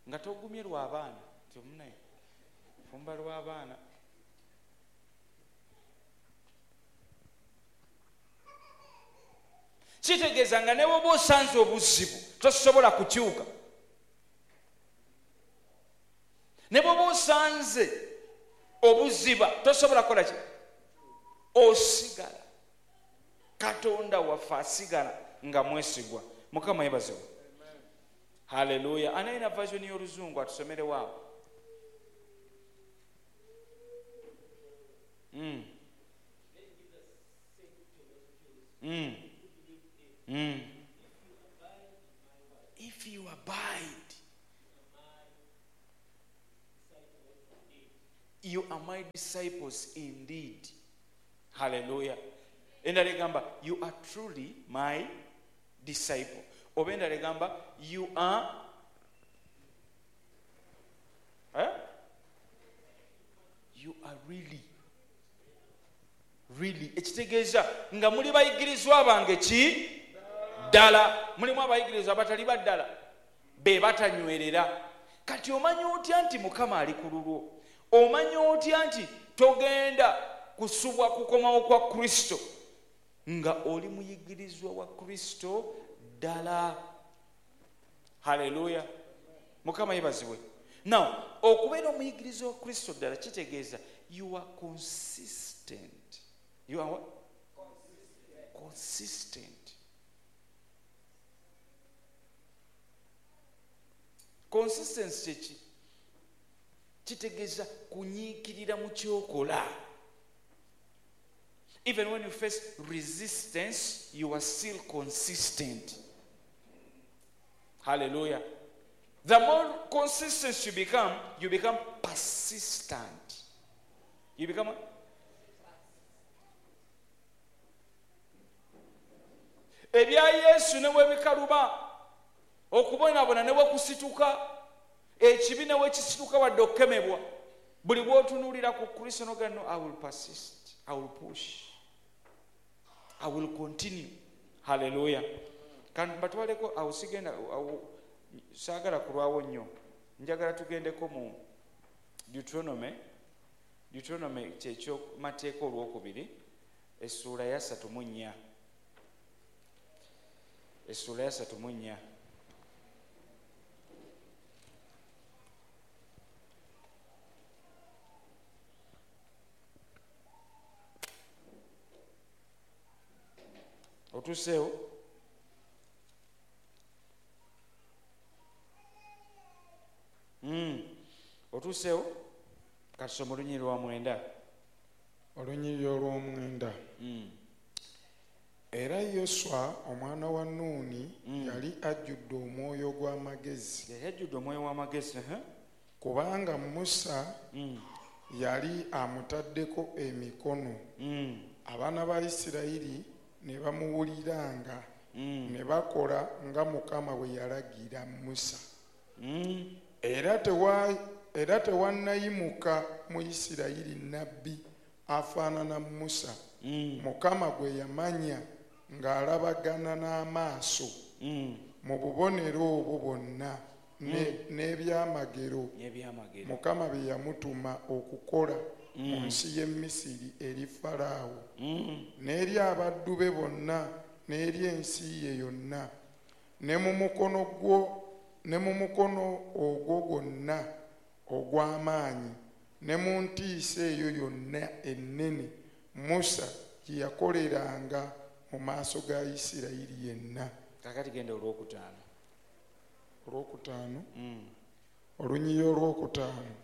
nga togumye lw'abaana, nti omunaye fumba lw'abaana. Kitegeeza nga ne bw'oba osanze obuzibu tosobola kukyuka, ne bw'oba osanze obuziba tosobola kukola ki? Osigala. Katonda waffe asigala nga mwesigwa. Mukama yeebazibwe. Haleluya. Anayina version y'Oluzungu atusomerewo awo. If you abide my disciples indeed. Hallelujah. Endala egamba, you are truly my disciple. Oba endala egamba, you are you are really really. Ekitegeeza nga muli bayigirizwa bange ki ddala. Mulimu abayigirizwa abatali ba ddala, be batanywerera. Kati omanyi otya nti Mukama ali ku lulwo? Omanyi otya nti togenda kusubwa kukomawo kwa Kristo nga oli muyigirizwa wa Kristo ddala? Hallelujah. Mukama yebazibwe. Now, okubeera omuyigirizwa wa Kristo ddala kitegeeza you are consistent. You are what? Consistent. Consistency kyeki? Kitegeeza kunyiikirira mu kyokola. Even when you face resistance, you are still consistent. Hallelujah. The more consistent you become persistent. You become what? Ebya Yesu ne bwe bikaluba, okubonaabona ne bwe kusituka, ekibi ne bwe kisituka wadde okukemebwa, buli bw'otunuulira ku Kristo n'ogamba, no, I will persist, I will push, I will continue. Hallelujah. Kandi batwaleko awo, sigenda awo, saagala kulwawo nnyo, njagala tugendeko mu Deuteronomy. Deuteronomy kyekyomateeka olwokubiri, essuula ya 34. Essuula ya 34. Otuuseewo? Otuuseewo? Katusome olunyiriri lwa 9. Olunyiriri olw'omwenda. Era Yoswa omwana wa Nuuni yali ajjudde omwoyo gw'amagezi. Yali ajjudde omwoyo w'amagezi. Kubanga Musa yali amutaddeko emikono. Abaana ba Isirayiri ne bamuwuliranga, ne bakola nga Mukama bwe yalagira Musa. Era tewannayimuka mu Isirayiri nnabbi afaanana Musa, Mukama gwe yamanya ng'alabagana n'amaaso mu bubonero obwo bwonna n'ebyamagero Mukama bye yamutuma okukola mu nsi y'e Misiri eri Falaawo, n'eri abaddu be bonna, n'eri ensi ye yonna, ne mu mukono ogwo gwonna ogw'amaanyi, ne mu ntiisa eyo yonna ennene Musa gye yakoleranga mu maaso ga Isirayiri yenna. Kakati genda olwokutaano. Olwokutaano. Olunyiriri olwokutaano.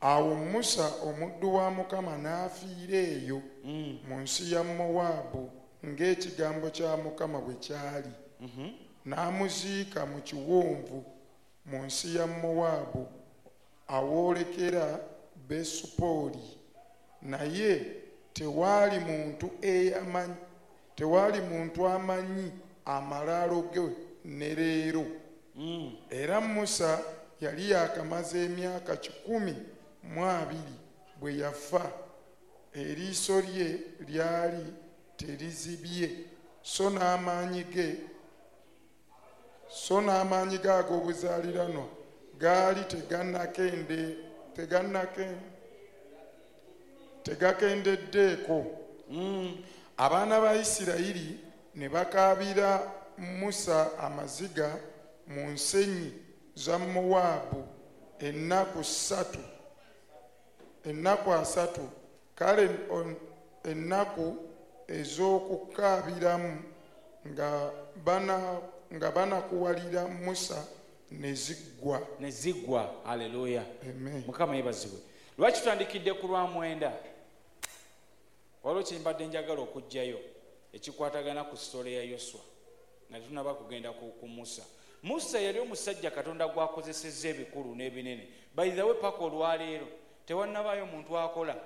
Awo Musa omuddu wa Mukama n'afiira eyo mu nsi ya Mowaabu ng'ekigambo kya Mukama bwe kyali. N'amuziika mu kiwonvu mu nsi ya Mowaabu awoolekera Besupoli. Naye tewali muntu amanyi amalaalo ge ne leero. Era Musa yali yakamaze emyaka 120 bwe yafa, eriiso lye lyali terizibye, so n'amaanyi ge ag'obuzaaliranwa gaali tegakendeddeeko. Abaana ba Isirayiri ne bakaabira Musa amaziga mu nsenyi za Mowaabu ennaku 3, kale ennaku ez'okukaabiramu nga banakuwalira Musa ne ziggwa. Ne ziggwa. Haleluya. Amen. Mukama yeebazibwe. Lwaki tutandikidde ku lwa 9? Waliwo kye mbadde njagala okuggyayo ekikwatagana ku sitole ya Yoswa nga tetunnaba kugenda ku Musa. Musa yali omusajja Katonda gw'akozesezza ebikulu n'ebinene. By the way, paka olwaleero Tewannabaayo muntu akola,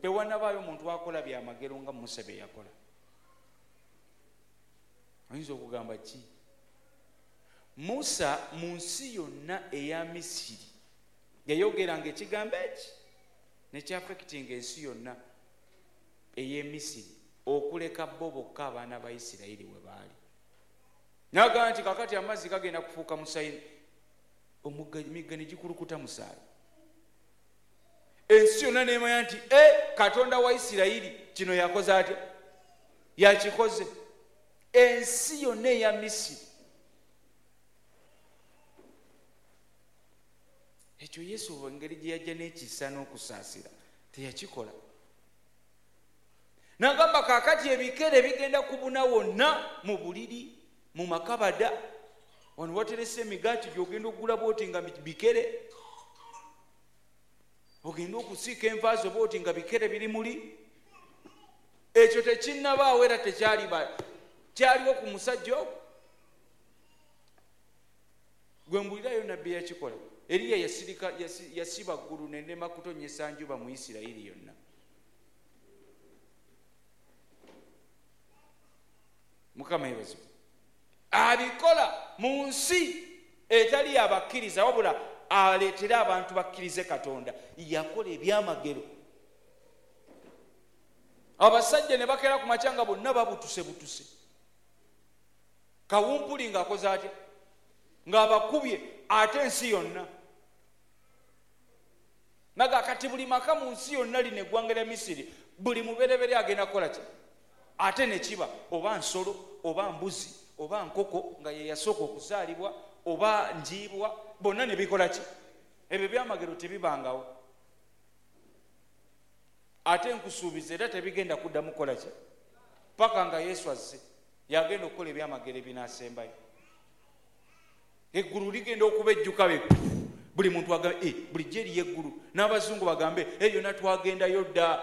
tewannabaayo muntu akola byamagero nga Musa bye yakola. Oyinza okugamba ki? Musa mu nsi yonna eya Misiri yayogeranga ekigambo eki nekyaffectinga ensi yonna ey'e Misiri, okuleka bo bokka abaana ba Isirayiri we baali. Nagamba nti kakati amazzi gagenda kufuuka musayi, emigga ne gikulukuta musaayi. Ensi yonna nemanya nti e Katonda wa Isirayiri kino yakoze atya? Yakikoze. Ensi yonna eya Misiri. Ekyo Yesu, engeri gye yajja n'ekisa n'okusaasira, teyakikola. Nagamba kakati ebikere bigenda kubuna wonna, mu buliri, mu makabada. Wano waterese emigaati gyogenda okugula bwoti nga bikere, ogenda okusiika envaazo bwoti nga bikere biri muli. Ekyo tekinnabaawo era tekyaliba kyaliwo ku musajja ogwo gwe mbulirayo. Nabbi yakikola. Eriya yasirika, yasiba ggulu nerema kutonyesa njuba mu Isirayiri yonna. Mukama yebazibwe. Abikola mu nsi etali abakkiriza, wabula aleetere abantu bakkirize Katonda. Yakola ebyamagero, abasajja ne bakeera ku makya nga bonna babutuse butuse, kawumpuli ng'akoze atya? Ng'abakubye. Ate ensi yonna naga kati buli maka mu nsi yonna lino eggwanga lya Misiri, buli muberebere agenda kukola ki? Ate nekiba oba nsolo oba mbuzi oba nkoko nga ye yasooka okuzaalibwa oba njiibwa, bonna ne bikola ki? Ebyo byamagero tebibangawo, ate nkusuubiza era tebigenda kuddamu kukola ki paka nga Yesu azze. Yagenda okukola ebyamagero ebinaasembayo. Eggulu ligenda okuba ejjuka be buli muntu agambe, "Eh, bulijjo eriyo eggulu." N'abazungu bagambe, "Eh, yonna twagendayo dda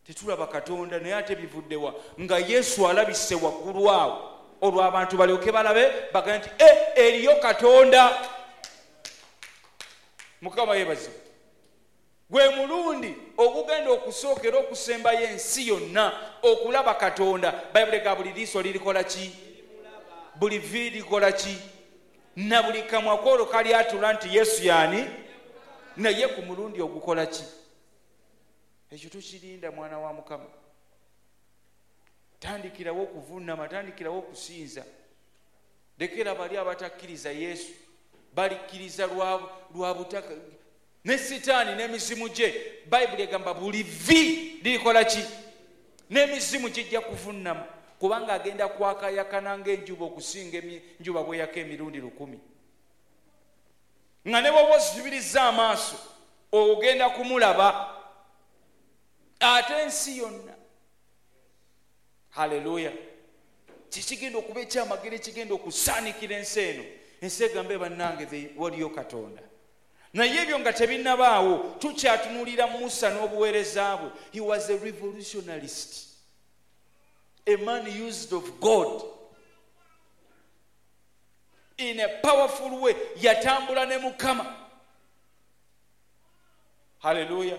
tetulaba Katonda." Naye ate bivuddewa nga Yesu alabise waggulu awo, olwo abantu balyoke balabe bagambe nti, "E, eriyo Katonda." Mukama yeebazibwe. Gwe mulundi ogugenda okusookera okusembayo ensi yonna okulaba Katonda. Bayibuli ga buli liiso lirikola ki? Buli vi likola ki? Na buli kamwa kwolwo kalyatula nti Yesu yaani. Naye ku mulundi ogukola ki? Ekyo tukirinda. Mwana wa Mukama, tandikirawo okuvunama, tandikirawo okusinza. Lekera bali abatakkiriza Yesu balikkiriza lwa butaka ne Sitaani n'emizimu gye. Bayibuli egamba buli vi lirikola ki? N'emizimu gijja kuvunama, kubanga agenda kwakayakana ng'enjuba, okusinga enjuba bweyaka emirundi 1000, nga ne bwoba ozibiriza amaaso ogenda kumulaba. Ate ensi yonna, haleluya! Kikigenda okuba ekyamagero ekigenda okusaanikira ensi eno. Ensi egambe, "Bannange, waliyo Katonda." Naye ebyo nga tebinnabaawo, tukyatunulira Musa n'obuweereza bwe. He was a revolutionalist, a man used of God in a powerful way. Yatambula ne Mukama, haleluya,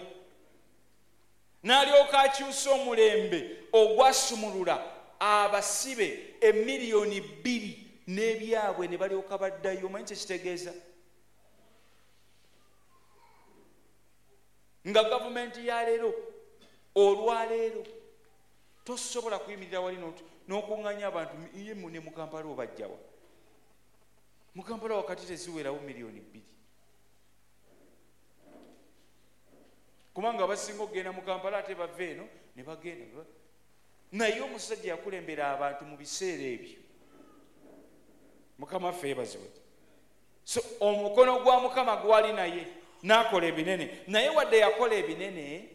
n'alyoka akyusa omulembe ogwasumulula abasibe 2 million n'ebyabwe ne balyoka baddayo. Omanyi kyekitegeeza nga gavumenti ya leero, olwaleero tosobola kuyimirira wali n'okuŋŋanya abantu ye ne mu Kampala obajjawa? Mu Kampala wakati teziwerawo 2 million, kubanga abasinga okugenda mu Kampala ate bava eno ne bagenda. Naye omusajja yakulembera abantu mu biseera ebyo. Mukama waffe yeebazibwe. So omukono gwa Mukama gwali naye n'akola ebinene. Naye wadde yakola ebinene,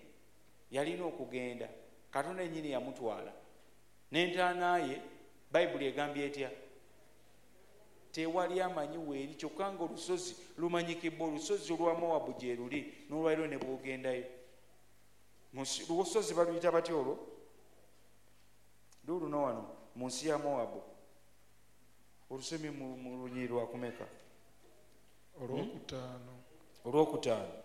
yalina okugenda. Katonda yennyini yamutwala n'entaana ye. Bayibuli egambye etya? Tewali amanyi weeri, kyokka nga olusozi lumanyikibwa, olusozi olwa Mowabu gye luli n'olwaliro ne bwogendayo. Lusozi baluyita batya olwo? Luuluno wano mu nsi ya Mowabu, olusomye mu lunyiri lwakumeka? Olwokutaano. Olwokutaano.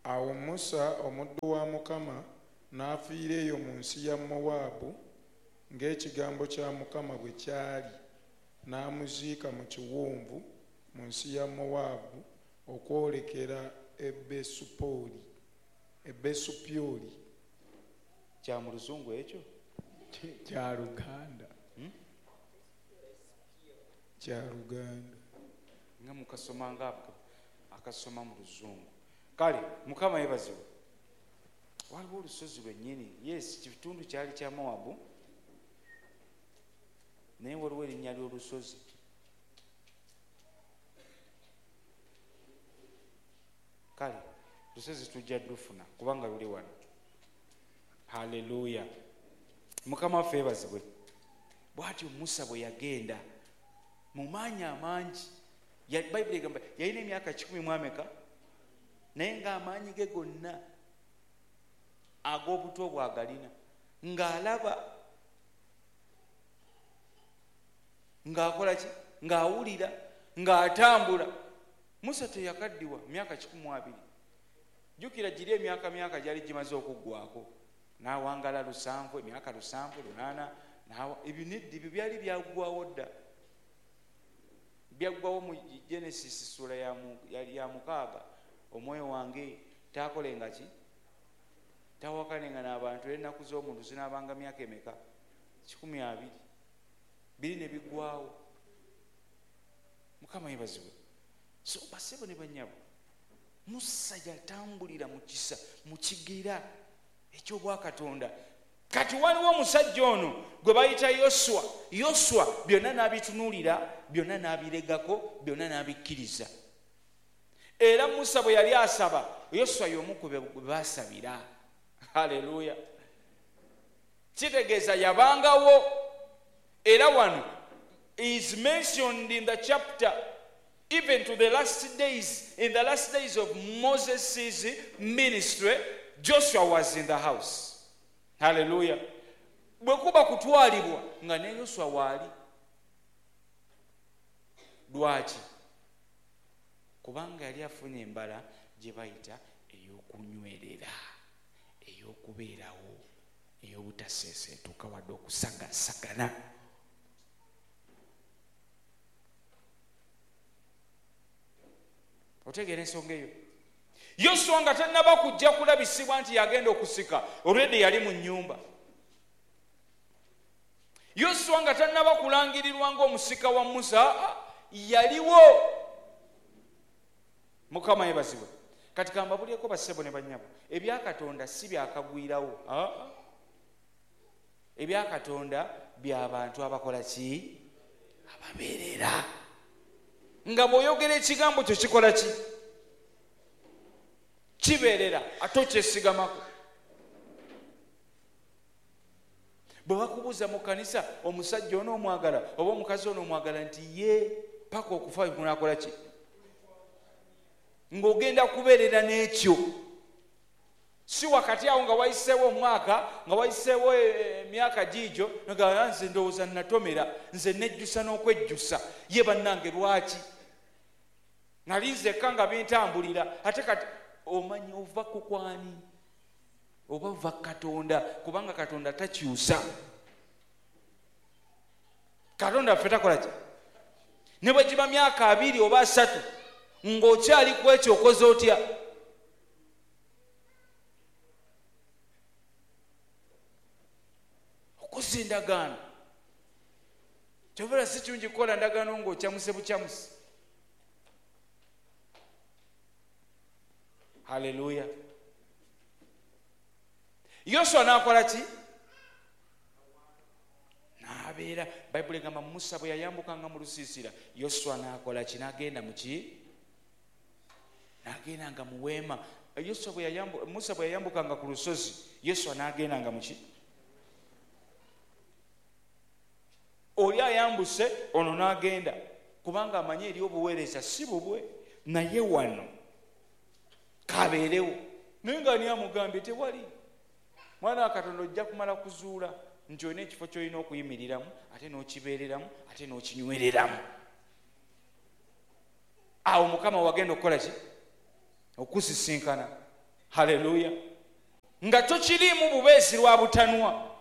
Awo Musa omuddu wa Mukama n'afiira eyo mu nsi ya Mowaabu ng'ekigambo kya Mukama bwe kyali, n'amuziika mu kiwonvu mu nsi ya Mowaabu okwolekera Ebesupyoli. Kya mu luzungu ekyo? Kya Luganda. Kya Luganda. Nga mukasoma nga akasoma mu luzungu. Kale Mukama yeebazibwe. Waliwo olusozi lwennyini. Yes, kitundu kyali kya Mowabu, naye waliwo erinnya ly'olusozi. Kale lusozi tujja lufuna kubanga luli wano. Haleluya. Mukama waffe yeebazibwe. Bw'atyo Musa bwe yagenda mu maanyi amangi. Bayibuli egamba yalina emyaka 100 naye ng'amaanyi ge gonna ag'obuto bwagalina, ng'alaba, ng'akola ki, ng'awulira, ng'atambula. Musa teyakaddiwa myaka 120. Jjukira giri emyaka gyali gimaze okuggwako, n'awangala 7, emyaka 7, 8, ebyo nedda, ebyo byali byaggwawo dda. Byaggwawo mu Genesis ssuula ya 6. Omwoyo wange taakolenga ki, tawakalenga n'abantu, ennaku z'omuntu zinaabanga myaka emeka? 120. Biri ne biggwawo. Mukama yeebazibwe. So basebo ne bannyabo, Musa yatambulira mu kisa, mu kigera eky'obwakatonda. Kati waliwo omusajja ono gwe bayita Yoswa. Yoswa byonna n'abitunuulira, byonna n'abiregako, byonna n'abikkiriza. Era Musa bwe yali asaba, Yoswa y'omu ku be baasabira. Haleluya. Kitegeeza yabangawo. Era wano is mentioned in the chapter even to the last days. In the last days of Moses' ministry, Joshua was in the house. Hallelujah. Bwe kuba kutwalibwa nga ne Yoswa waali. Lwaki? Kubanga yali afunye embala gye bayita ey'okunywerera, ey'okubeerawo, ey'obutaseeseetuka wadde okusagasagana. Otegeera ensonga eyo? Yoswa nga tannaba kujja kulabisibwa nti yagenda okusika, already yali mu nnyumba. Yoswa nga tannaba kulangirirwa ng'omusika wa Musa, yaliwo. Mukama yeebazibwe. Kati kambabulyeko bassebo ne bannyabo, ebya Katonda si byakagwirawo. Ebya Katonda by'abantu abakola ki? Ababeerera. Nga bw'oyogera ekigambo kyo kikola ki? Kibeerera, ate okyesigamako. Bwe bakubuuza mu kkanisa omusajja ono omwagala oba omukazi ono omwagala, nti ye paka okufa kunaakola ki? Ng'ogenda kubeerera n'ekyo. Si wakati awo nga wayiseewo omwaka, nga wayiseewo emyaka giigyo, nga nze ndowooza natomera, nze nejjusa n'okwejjusa. Ye bannange lwaki? Nali nzekka nga bintambulira. Ate kati omanyi ova ku kwani? Oba ova Katonda, kubanga Katonda takyusa. Katonda ffe takola ki? Ne bwe giba myaka 2 oba 3 ng'okyali ku ekyo okoze otya? Okoze endagaano. Kyovula si kirungi kukola ndagaano ng'okyamuse bukyamusi. Haleluya. Yoswa n'akola ki? N'abeera. Bayibuli egamba Musa bwe yayambukanga mu lusiisira, Yoswa n'akola ki? N'agenda mu ki? N'agendanga mu weema. Musa bwe yayambukanga ku lusozi, Yoswa n'agendanga mu ki? Oli ayambuse ono n'agenda, kubanga amanyi eri obuweereza si bubwe, naye wano kabeerewo. Naye nga ani amugambye? Tewali. Mwana wa Katonda ojja kumala kuzuula nti olina ekifo ky'olina okuyimiriramu, ate n'okibeereramu, ate n'okinywereramu. Awo Mukama wagenda okukola ki? Okusisinkana. Haleluya. Nga tokiriimu bubeezi lwa butanwa,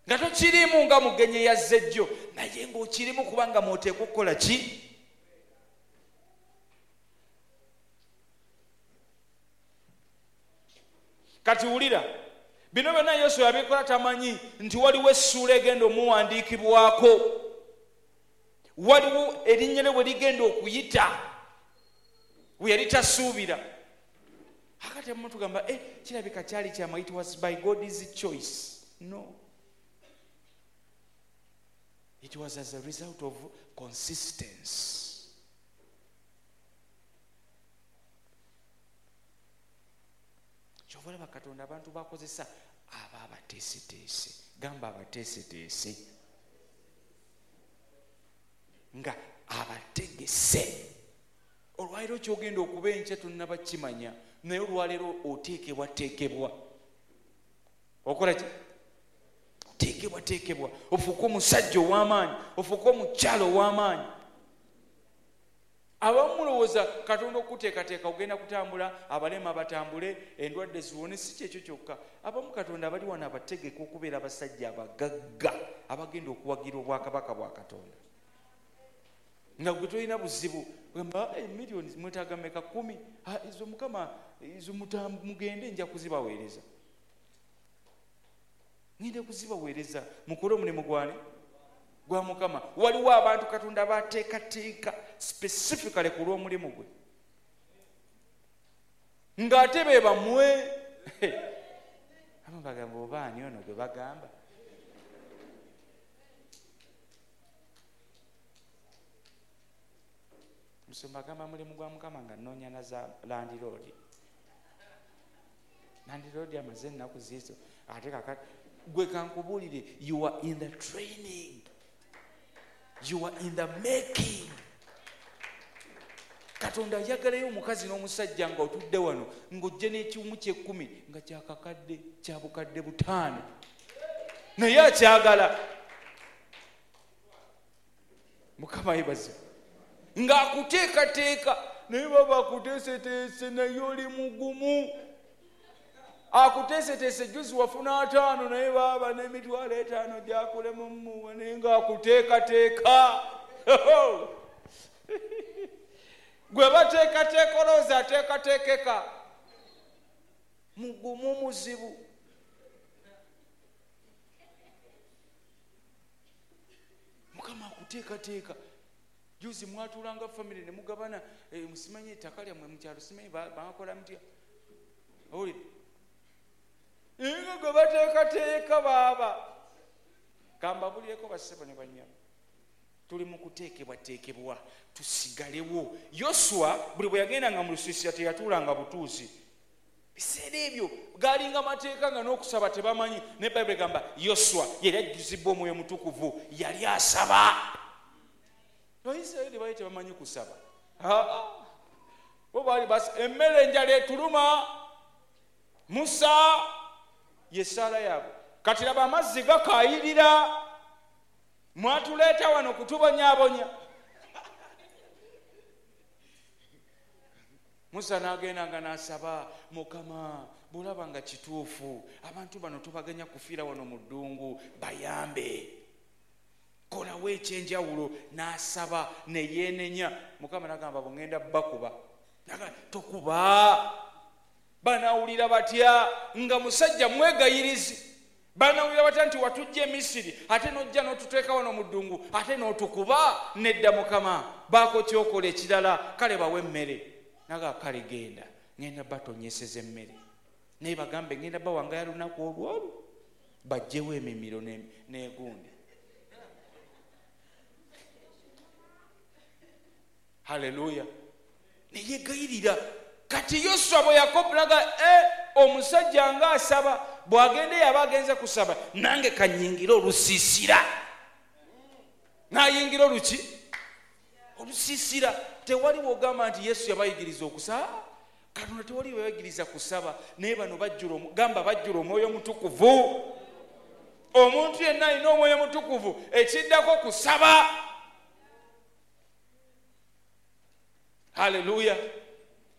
nga tokiriimu nga mugenyi yazze jjo, naye ng'okirimu kubanga mwoteekwa okukola ki? Kati wulira, bino byonna Yesu yabikola tamanyi nti waliwo essuula egenda omuwandiikibwako, waliwo erinnya lye bwe ligenda okuyita we yali tasuubira. Akati abamu tugamba kirabika kyali kyama, it was by God's choice. No, it was as a result of consistency. Kyova olaba Katonda abantu bakozesa aba abateeseteese, gamba abateeseteese nga abategese. Olwaleero kyogenda okuba enkya tonnaba kimanya, naye olwaleero oteekebwateekebwa, okola ki? Teekebwateekebwa ofuuke omusajja ow'amaanyi, ofuuke omukyala ow'amaanyi. Abamu mulowooza Katonda okuteekateeka ogenda kutambula, abalema batambule, endwadde ziwone. Si kyekyo kyokka, abamu Katonda abali wano abategeka okubeera abasajja abagagga abagenda okuwagira obwakabaka bwa Katonda, nga gwe tolina buzibu. Gamba miliyoni mwetaaga meka? 10. Ezo Mukama ezo mugende, nja kuzibaweereza, ngenda kuzibaweereza, mukole omulimu gwani? Gwa Mukama. Waliwo abantu Katonda bateekateeka specifically ku lw'omulimu gwe, ng'ate be bamwe. Abamu bagamba oba ani ono gwe bagamba? Musumba agamba mulimu gwa Mukama nga nnoonya na za landiroodi. Landiroodi amaze ennaku ziizo, ate kakati gwe kankubuulire, you are in the training, you are in the making. Katonda ayagalayo omukazi n'omusajja nga otudde wano ng'ojja n'ekiwumu ky'ekkumi nga kyakakadde kya bukadde 5, naye akyagala. Mukama yeebazibwe ng'akuteekateeka, naye baba akuteeseteese naye oli mugumu. Akuteeseteese juzi wafuna 5, naye baaba n'emitwalo 5 gyakulema mmuwa, naye ng'akuteekateeka. Gwe bateekateeka olowooza ateekateekeka, mugumu muzibu. Mukama akuteekateeka. Juzi mwatuulanga famire ne mugabana, musimanyi ettaka lyammwe mu kyalo, simanyi bakola mutya. Owulira? Nga gwe bateekateeka baaba. Kambabulireko bassebo ne bannyabo, tuli mu kuteekebwateekebwa tusigalewo. Yoswa buli bwe yagendanga mu lusiisira teyatuulanga butuuzi. Biseera ebyo gaalinga mateeka nga n'okusaba tebamanyi, ne Bayibuli egamba Yoswa yali ajjuzibwa Omwoyo Mutukuvu, yali asaba. Abayisirayiri baali tebamanyi kusaba. Bo baali emmere enjala etuluma, Musa ye ssaala yaabwe. Kati laba amazzi gakaayirira, mwatuleeta wano kutubonyaabonya. Musa n'agenda nga n'asaba, Mukama bw'olaba nga kituufu abantu bano tobaganya kufiira wano mu ddungu, bayambe, kolawo ekyenjawulo. N'asaba ne yeenenya. Mukama n'agamba bwe ŋŋenda bakuba. N'agamba tokuba, banawulira batya nga musajja mwegayirizi? Banawulira batya nti watujja e Misiri ate n'ojja n'otuteeka wano mu ddungu ate n'otukuba? Nedda Mukama, baako kyokola ekirala, kale bawe emmere. Naga kale genda, ŋŋenda batonyeseza emmere, naye bagambe ŋŋenda bawangayo lunaku olwolwo bajjewo emimiro n'egundi. Haleluya. Neyegayirira. Kati Yoswa bwe yakopulaga omusajja ng'asaba, bw'agenda yaba agenze kusaba, nange kanyingire olusiisira. N'ayingira oluki? Olusiisira. Tewali w'ogamba nti Yesu yabayigiriza okusaba. Katonda tewali yabayigiriza kusaba, naye bano bajjula, gamba bajjula Omwoyo Omutukuvu. Omuntu yenna alina Omwoyo Omutukuvu, ekiddako kusaba. Haleluya.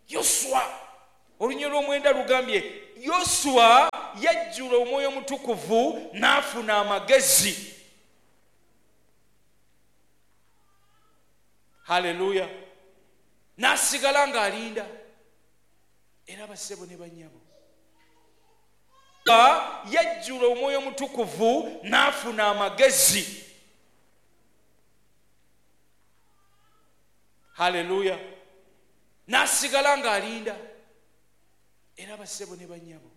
Yoswa Olunyiriri lw'omwenda lugambye Yoswa yajjula Omwoyo Omutukuvu n'afuna amagezi. Haleluya. N'asigala ng'alinda. Era bassebo ne bannyabo, yajjula Omwoyo Omutukuvu n'afuna amagezi. Haleluya. N'asigala ng'alinda. Era bassebo ne bannyabo,